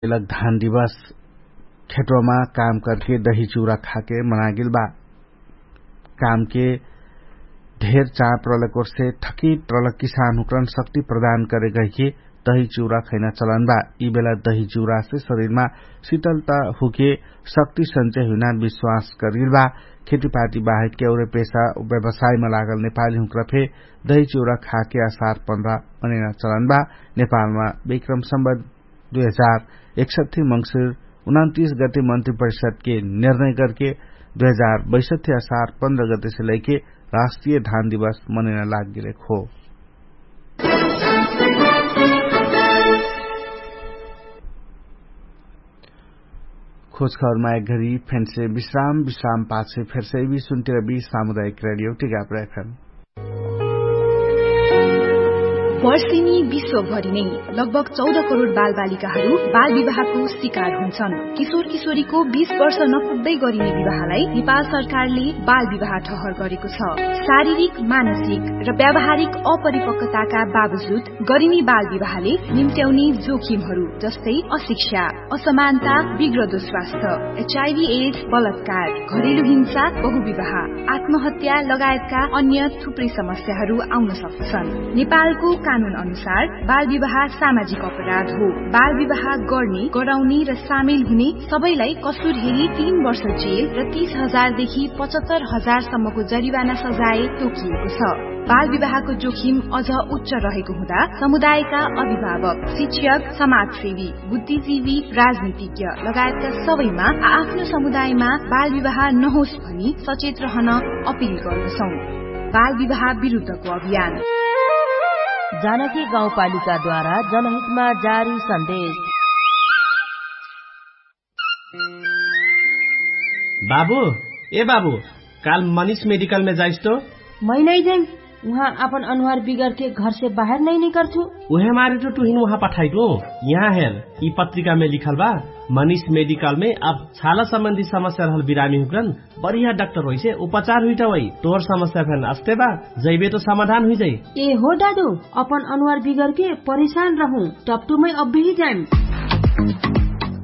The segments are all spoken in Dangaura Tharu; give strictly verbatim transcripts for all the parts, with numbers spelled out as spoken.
लग धान दिवस खेटोमा काम करके दही चुरा खाके मनागेल बा। कामके ढेर चाप रलक ओरसे थकित रलक किसान हुक्रन शक्ति प्रदान करे गहिके दही चुरा खैना चलन बा। यि बेला दही चुरासे शरीरमा शितलता हुके शक्ति संचय हुइना विश्वास करगेल बा। खेतीपाती बाहेक केउरे पेसा व्यवसायमा लागल नेपाली हुक्रा फे दही चुरा खाके असार पन्ध्रा मनेना चलन बा। नेपालमा विक्रम सम्बत दुई हजार एकसट्ठी मङ्सिर उनन्तिस गते मन्त्री परिषदके निर्णय करके दुई हजार बैसट्ठी असार पन्ध्र गतेसे लैके राष्ट्रिय धान दिवस मनेना लागगेलेक हो। खोजखबरमा एक घरी फेन्से विश्राम विश्राम पाछे फेर्से बि सुन्तिर बि सामुदायिक रेडियो टिकापुर एफएम। वर्षिनी विश्वभरि नै लगभग चौध करोड बालबालिकाहरू बालविवाहको शिकार हुन्छन्। किशोर किशोरीको बीस वर्ष नपुग्दै गरिने विवाहलाई नेपाल सरकारले बालविवाह ठहर गरेको छ। शारीरिक, मानसिक र व्यावहारिक अपरिपक्वताका बावजुद गरिने बालविवाहले निम्त्याउने जोखिमहरू जस्तै अशिक्षा, असमानता, बिग्रदो स्वास्थ्य, एचआइभी एड्स, बलात्कार, घरेलु हिंसा, बहुविवाह, आत्महत्या लगायतका अन्य थुप्रै समस्याहरू आउन सक्छन्। नेपालको कानुन अनुसार बालविवाह सामाजिक अपराध हो। बालविवाह गर्ने, गराउने र सामेल हुने सबैलाई कसुर हेरी तीन वर्ष जेल र तीस हजार देखि पचहत्तर हजार सम्मको जरिवाना सजाय तोकिएको छ। बालविवाहको जोखिम अझ उच्च रहेको हुँदा समुदायका अभिभावक, शिक्षक, समाजसेवी, बुद्धिजीवी, राजनीतिज्ञ लगायतका सबैमा आ-, आफ्नो समुदायमा बालविवाह नहोस् भनी सचेत रहन अपिल गर्दछौं। बालविवाह विरुद्धको अभियान। जानकी गाउँपालिकाद्वारा जनहितमा जारी सन्देश। बाबु, ए बाबु, काल मनिष मेडिकलमे जाइस तो? मै नै जाइम। उहाँ आपन अनुहार बिगरके घरसे बाहेर नै निकरथु। उहे मारे तो टुहिन उहाँ पठाइटु। यहाँ हेर, यि पत्रिकामे लिखल बा, मनिष मेडिकलमे अब छाला सम्बन्धी समस्या रहल बिरामी हुक्रन बढिया डाक्टर होइसे उपचार हुइटवै। तोर समस्या फेन अस्ते बा, जैबे तो समाधान हुइजै। ए हो दादु, अपन अनुहार बिगरके परेशान रहु, टप्टुमै अब्बिही जाइम।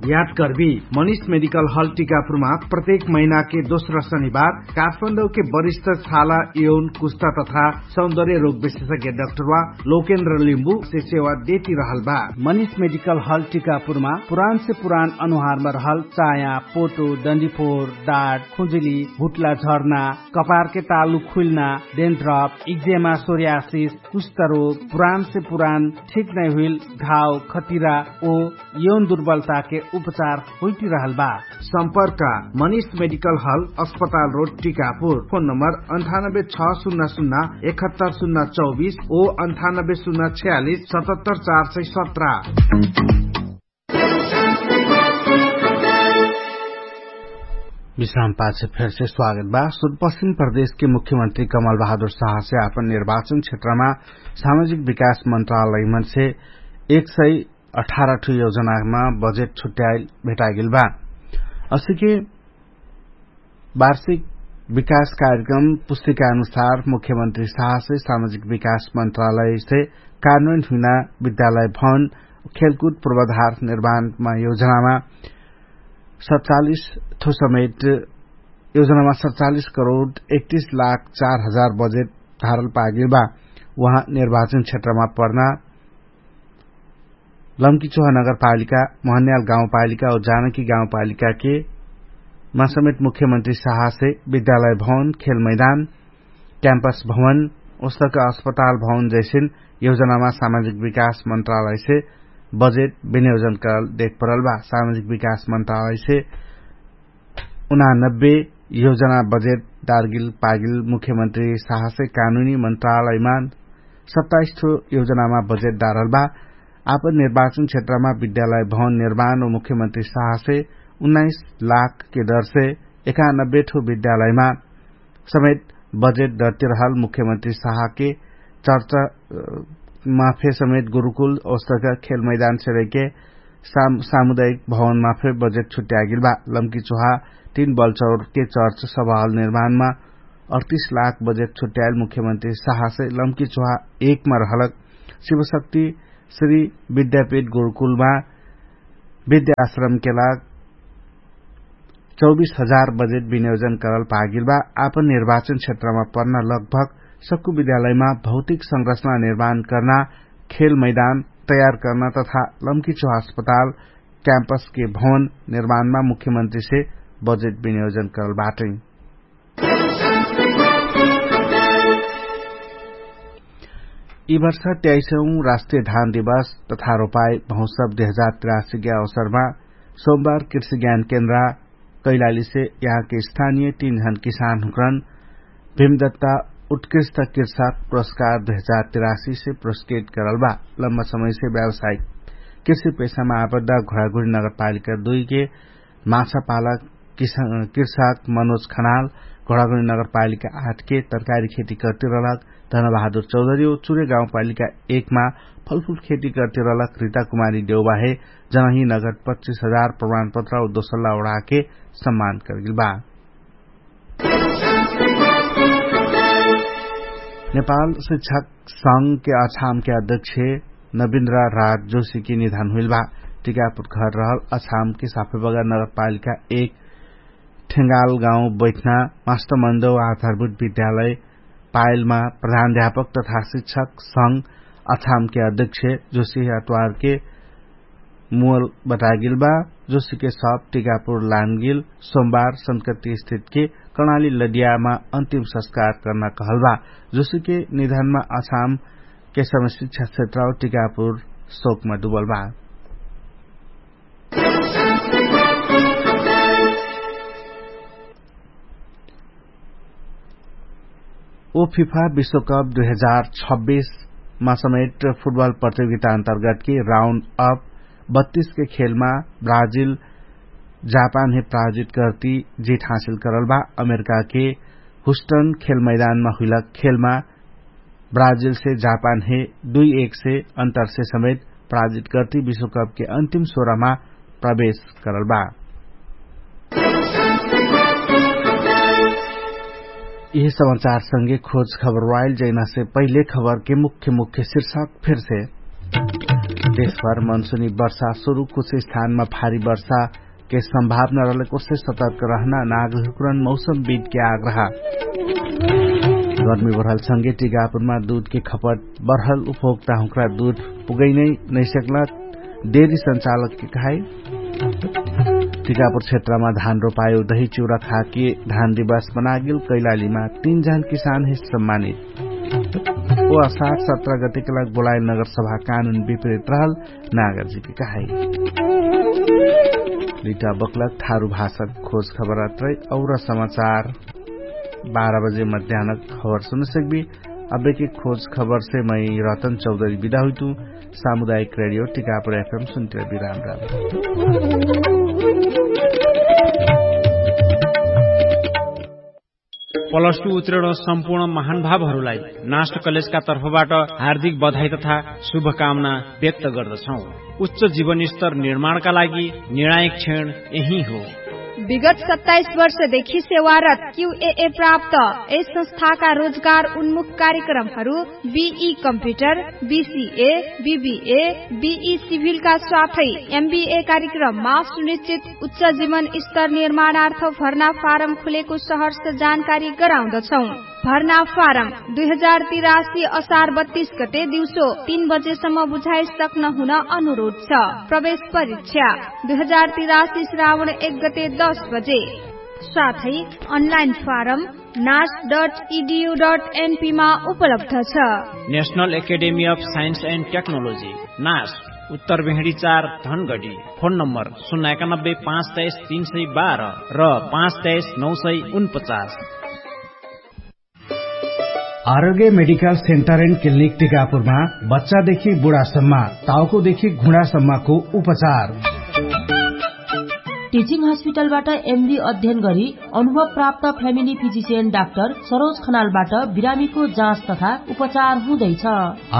याद करबी, मनिष मेडिकल हल टिकापुरमा प्रत्येक महिनाके दोस्रा शनिबार काठमाडौके वरिष्ठ छाला, यौन, कुस्ता तथा सौन्दर्य रोग विशेषज्ञ डाक्टरवा लोकेन्द्र लिम्बु से सेवा देती रहल बा। मनिष मेडिकल हल टिकापुरमा पुरान से पुरान अनुहारमा रहल चाया, पोटो, डन्डीफोर, डाट, खुजुली, भुट्ला झर्ना, कपारके तालु खुइल्ना, डेन्ड्रप, इक्जेमा, सोरियासिस, कुष्ठरोग, पुरान से पुरान ठीक नै हुइल घाव, खतिरा ओ यौन दुर्बलताके उपचार होइटिरहल बा। सम्पर्क मनिष मेडिकल हल, अस्पताल रोड, टिकापुर। फोन नम्बर अन्ठानब्बे छ सुन्ना सुन्ना एकहत्तर सुन्ना चौबिस ओ अन्ठानब्बे सुन्ना छयालिस सतहत्तर चार सय सत्र। विश्राम पाछे फेरसे स्वागत बा। सुदपश्चिम प्रदेशके मुख्यमन्त्री कमल बहादुर शाहसे आपन निर्वाचन क्षेत्रमा सामाजिक विकास मन्त्रालयमनसे एक सय अठार ठु योजनामा बजेट छुट्याइल भेटाइगेल बा। असिके वार्षिक विकास कार्यक्रम पुस्तिका अनुसार मुख्यमन्त्री शाहसे सामाजिक विकास मन्त्रालयसे कानुन हुइना विद्यालय भवन, खेलकुद पूर्वाधार निर्माणमा योजनामा सतचालिस थो समेट योजनामा सतचालिस करोड एकतिस लाख चार हजार बजेट धारल पागेल बा। उहाँ निर्वाचन क्षेत्रमा पर्ना लम्कीचोहा नगरपालिका, महन्याल गाउँपालिका और जानकी गाउँपालिकाके मा समेत मुख्यमन्त्री शाहसे विद्यालय भवन, खेल मैदान, क्याम्पस भवन, ओस्तक अस्पताल भवन जैसिन योजनामा सामाजिक विकास मन्त्रालयसे बजेट विनियोजन करल देख परल बा। सामाजिक विकास मन्त्रालयसे उनानब्बे योजना बजेट डारगिल पागिल मुख्यमन्त्री शाहसे कानुनी मन्त्रालयमा सत्ताइस ठो योजनामा बजेट डारल बा। आपन निर्वाचन क्षेत्रमा विद्यालय भवन निर्माण और मुख्यमन्त्री शाहसे उन्नाइस लाखके दरसे एकानब्बे ठो विद्यालयमा समेत बजेट डरतिरहल मुख्यमन्त्री शाहके चर्चा माफे समेत गुरुकुल ओस्तक खेल मैदान सेरैके सामुदायिक भवनमा फे बजेट छुट्यागिल बा। लम्की चोहा तीन बलचौरके चर्च सभाहल निर्माणमा अडतिस लाख बजेट छुट्याइल मुख्यमन्त्री शाहसे लम्की चोहा एकमा रहलक शिवशक्ति श्री विद्यापीठ गुरुकुलमा विद्याश्रमके लाग चौबीस हजार बजेट विनियोजन करल पागिल बा। आपन निर्वाचन क्षेत्रमा पर्ना लगभग सक्कु विद्यालयमा भौतिक संरचना निर्माण कर्ना, खेल मैदान तयार कर्ना तथा लम्की चौहा अस्पताल क्याम्पसके भवन निर्माणमा मुख्यमन्त्रीसे बजेट विनियोजन करल बाटै। यि वर्ष त्याइसौँ राष्ट्रिय धान दिवस तथा रोपाई महोत्सव दुई हजार तिरासीके अवसरमा सोमबार कृषि ज्ञान केन्द्रा कैलालीसे यहाँके स्थानिय तीन झन किसानहुँकरन भीमदत्ता उत्कृष्ट कृषक पुरस्कार दुई हजार तिरासीसे पुरस्कृत करल बा। लम्बा समयसे व्यावसायिक कृषि पेशामा आबद्धा घुराघुरी नगरपालिका दुईके माछापालक कृषक मनोज खनाल, घोडागुनी नगरपालिका आठके तरकारी खेती कर्तिरलक धनबहादुर चौधरी ओ चुरे गाउँपालिका एकमा फलफुल खेती कर्तिरलक रिता कुमारी देउबाहे जनही नगद पच्चिस हजार प्रमाणपत्र ओ दोसल्ला ओढाके सम्मान कर्गिल बा। नेपाल शिक्षक संघके अछामके अध्यक्ष नबिन्द्र राज जोशीके निधन हुइल बा। टिकापुर घर रहल अछामके साफेबगर नगरपालिका एक ठेङ्गाल गाउँ बैठना मास्टमन्द आधारभूत विद्यालय पायलमा प्रधानध्यापक तथा शिक्षक संघ अछामके अध्यक्ष जोशी अतवारके मुअल बतागिल बा। जोशीके सब टिकापुर लानगिल सोमबार संकति स्थितके कर्णाली लडियामा अन्तिम संस्कार कर्ना कहल बा। जोशीके निधनमा अछामके समय शिक्षा क्षेत्र टिकापुर शोकमा डुबल बा। ओ फिफा विश्वकप दुई हजार छब्बिसमा समेट फुटबल प्रतियोगिता अन्तर्गतके राउन्ड अप बत्तीसके खेलमा ब्राजिल जापानहे पराजित कर्ति जित हासिल करल बा। अमेरिकाके हुस्टन खेल मैदानमा हुइलक खेलमा ब्राजिलसे जापानहे दुई एकसे अन्तरसे समेत पराजित कर्ति विश्वकपके अन्तिम सोह्रमा प्रवेश करल बा। यिहे समाचारसँगे खोज खबर वाइल जैनासे पहिले खबरके मुख्य मुख्य शिर्षक फेरसे। देशभर मनसुनी वर्षा सुरु कुछ स्थानमा भारी वर्षाके सम्भावना रहलेकोसे सतर्क रहना नागरिकरण मौसम बिदके आग्रह। गर्मी बढल संगे टिकापुरमा दुधके खपत बढल उपभोक्ता हुँक्रा दुध पुगैनै नैसक्ला। डेरी संचालकके कहाई। टिकापुर क्षेत्रमा धान रोपायो दही चिउरा खाके धान दिवस बनागेल कैलालीमा तीन जन किसान हे सम्मानित। ओ असार सत्र गतिके लाग बोलाइल नगरसभा कानुन विपरीत रहल नागरजीके कहाई। लिटा बक्लक थारु भाषाक खोज खबर अत्रै और समाचार बाह्र बजे मध्यानक खबर सुनसक्बी। अबेके खोज खबरसे मै रतन चौधरी बिदा हुइतु। सामुदायिक रेडियो टिकापुर एफएम सुन्तिर बिराम राम। प्लस टु उत्तीर्ण सम्पूर्ण महानुभावहरूलाई नाष्ट कलेजका तर्फबाट हार्दिक बधाई तथा शुभकामना व्यक्त गर्दछौँ। उच्च जीवनस्तर निर्माणका लागि निर्णायक क्षण यही हो। विगत सत्ताइस वर्षदेखि सेवारत क्युएए प्राप्त यस संस्थाका रोजगार उन्मुख कार्यक्रमहरू बिई कम्प्युटर, बिसिए, बिबिए, बिई सिभिलका साथै एमबिए कार्यक्रममा सुनिश्चित उच्च जीवन स्तर निर्माणार्थ भर्ना फारम खुलेको सहर्ष जानकारी गराउँदछौँ। भर्ना फारम दुई हजार तिरासी असार बत्तीस गते दिउँसो तीन बजेसम्म बुझाइ सक्न हुन अनुरोध छ। प्रवेश परीक्षा दुई हजार तिरासी श्रावण एक गते दस बजे। साथै अनलाइन फारम नास डट इडियु डट एनपीमा उपलब्ध छ। National academy of science and technology, नास, उत्तर भेहडी चार, धनगडी। फोन नम्बर शून्य एकानब्बे पाँच तेइस तीन सय बाह्र र पाँच तेइस नौ सय उनपचास। आरोग्य मेडिकल सेन्टर एन्ड क्लिनिक टिकापुरमा बच्चादेखि बुढासम्म, टाउकोदेखि घुँडासम्मको उपचार। टिचिङ हस्पिटलबाट एमडी अध्ययन गरी अनुभव प्राप्त फ्यामिली फिजिसियन डाक्टर सरोज खनालबाट बिरामीको जाँच तथा उपचार हुँदैछ।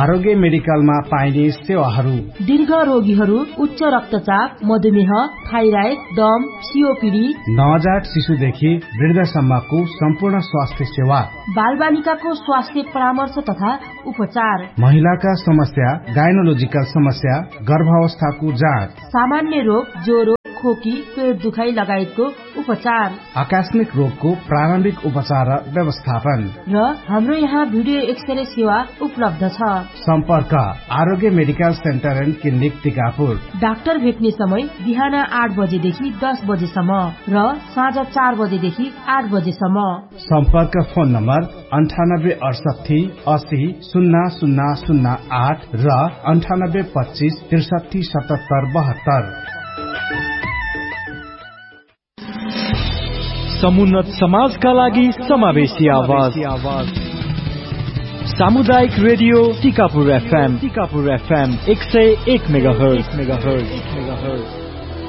आरोग्य मेडिकलमा पाइने सेवाहरू। दीर्घ रोगीहरू, उच्च रक्तचाप, मधुमेह, थाइराइड, दम, सिओपिडी, नवजात शिशुदेखि वृद्धसम्मको सम्पूर्ण स्वास्थ्य सेवा। बालबालिकाको स्वास्थ्य परामर्श तथा उपचार। महिलाका समस्या, गाइनोलोजिकल समस्या, गर्भावस्थाको जाँच। सामान्य रोग, ज्वरो, खोकी, पेट दुखाइ लगायतको उपचार। आकस्मिक रोगको प्रारम्भिक उपचार व्यवस्थापन। र हाम्रो यहाँ भिडियो एक्सरे सेवा उपलब्ध छ। सम्पर्क, आरोग्य medical centre and clinic Tikapur. Doctor भेट्ने समय बिहान आठ बजेदेखि दस बजेसम्म र साँझ चार बजेदेखि आठ बजेसम्म। सम्पर्क फोन नम्बर अन्ठानब्बे अठसट्ठी असी सुन्ना सुन्ना सुन्ना आठ र अन्ठानब्बे पच्चिस त्रिसट्ठी सतहत्तर बहत्तर। समुन्नत समाजका लागि समावेशी आवाज। सामुदायिक रेडियो टिकापुर एफएम, टिकापुर एफएम एक सय एक मेगाहर्ज।